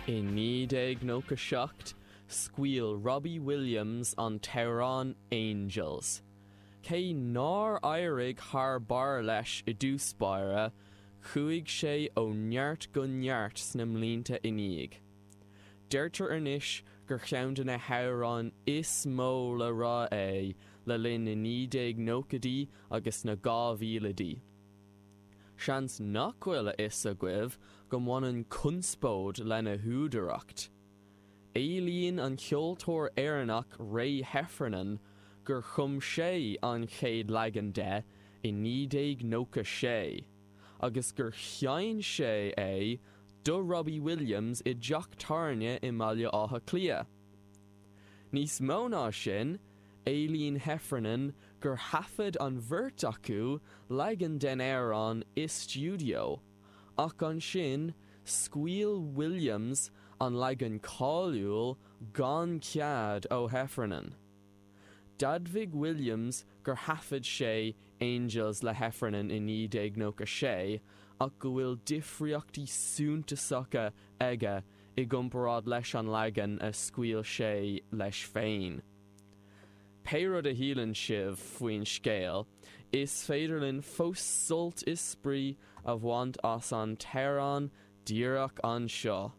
I 1997, scaoil Robbie Williams an t-amhrán Angels. Cé nár éirigh thar barr leis i dtús báire, chuaigh sé ó neart go neart sna mblianta ina dhiaidh. Deirtear anois gur cheann de na hamhráin is mó le rá é le linn na 1990idí agus na 2000idí. Seans nach bhfuil a fhios agaibh go mbaineann conspóid lena húdaracht. Éilíonn an ceoltóir Éireannach Ray Heffernan gur chum sé an chéad leagan de i 1996 agus gur sheinn sé é do Robbie Williams i dteach tábhairne i mBaile Átha Cliath. Níos mó ná sin, éilíonn Heffernan gur thaifead an bheirt acu leagan den amhrán i stiúideo, ach ansin scaoil Williams an leagan cáiliúil gan cead ó Heffernan. D'admhaigh Williams gur thaifead sé Angels le Heffernan i 1996 ach go bhfuil difríochtaí suntasacha aige i gcomparáid leis an leagan a scaoil sé leis féin. Pé rud a shíleann sibh faoin scéal, is féidir linn fós sult is spraoi a bhaint as an t-amhrán díreach anseo.